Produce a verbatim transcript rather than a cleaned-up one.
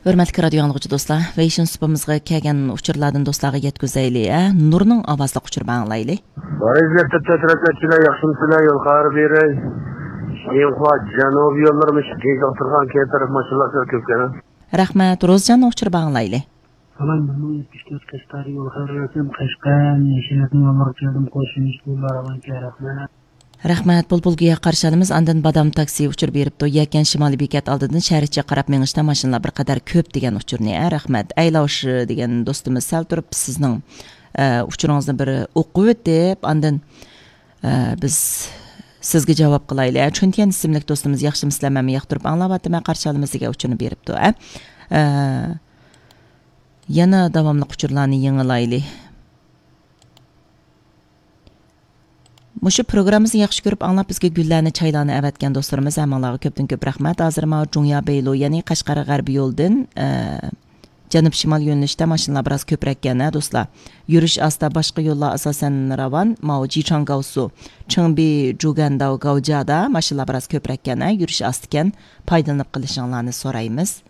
ھۆرمەتلىك رادىيو ئاڭلىغۇچى دوستلار، ۋېيشىن سۇپىمىزغا كەلگەن ئۇچۇرلاردىن دوستلارغا يەتكۈزەيلى، ھە؟ نۇرنىڭ ئاۋازلىق ئۇچۇرى بىلەن ئاڭلايلى. بارىز لەپتەپ تەترەتلەتچىلەر ياخشىمۇسىلەر يول خەۋەر بېرەي. شىنخۇا جەنۇبىي يوللىرىمىز گېزىق تۇرغان كەيپ تەرەپ ماشىنىلار كۆپكەن. رەھمەت، روزجاننىڭ ئۇچۇرى بىلەن ئاڭلايلى. سالام، بىر مىڭ يەتمىش تۆت قەشقەر يول خەۋەر بەرسەم، قەشقەر، يېشىلاتنىڭ يوللىرىغا كەلدىم، قوشۇلمىش پۇللار ئاۋانكە، رەھمەت. رەھمەت، بۇلبۇلگۈيە قارشى ئالىمىز. ئاندىن بادام تاكسى ئۇچۇر بېرىپتۇ. يەكەن شىمالىي بېكەت ئالدىدىن شەھەر ئىچىگە قاراپ مېڭىشتا ماشىنىلار بىر قەدەر كۆپ دېگەن ئۇچۇرنى، ئە، رەھمەت. ئەيلاۋش دېگەن دوستىمىز سەل تۇرۇپ سىزنىڭ، ئە، ئۇچۇرىڭىزنى بىر ئوقۇۋېتىپ، ئاندىن، ئە، بىز سىزگە جاۋاب قىلايلى. ئە، چۈنتيەن ئىسىملىك دوستىمىز ياخشىمۇسىلەر، مەنمۇ ياقتۇرۇپ ئاڭلاۋاتىمەن، قارشى ئالىمىز دېگەن ئۇچۇرنى بېرىپتۇ. ئە، ئە، يەنە داۋاملىق ئۇچۇرلارنى يېڭىلايلى. مۇشۇ پروگراممىمىزنى ياخشى كۆرۈپ ئاڭلاپ، بىزگە گۈللەرنى، چايلارنى ئەۋەتكەن دوستلىرىمىز ھەممىڭلارغا كۆپتىن كۆپ رەھمەت. ھازىر ماۋۇ جۇڭيا بېيلۇ، يەنى قەشقەر غەربىي يولدىن، ئە، جەنۇب شىمال يۆنىلىشتە ماشىنىلار بىراز كۆپرەككەن، ھە، دوستلار. يۈرۈش ئاستا، باشقا يوللار ئاساسەن راۋان. ماۋۇ جىچاڭ گاۋسۇ، چېڭبى، جۇگەنداۋ، گاۋجادا ماشىنىلار بىراز كۆپرەككەن، ھە، يۈرۈش ئاستىكەن. پايدىلىنىپ قېلىشىڭلارنى سورايمىز.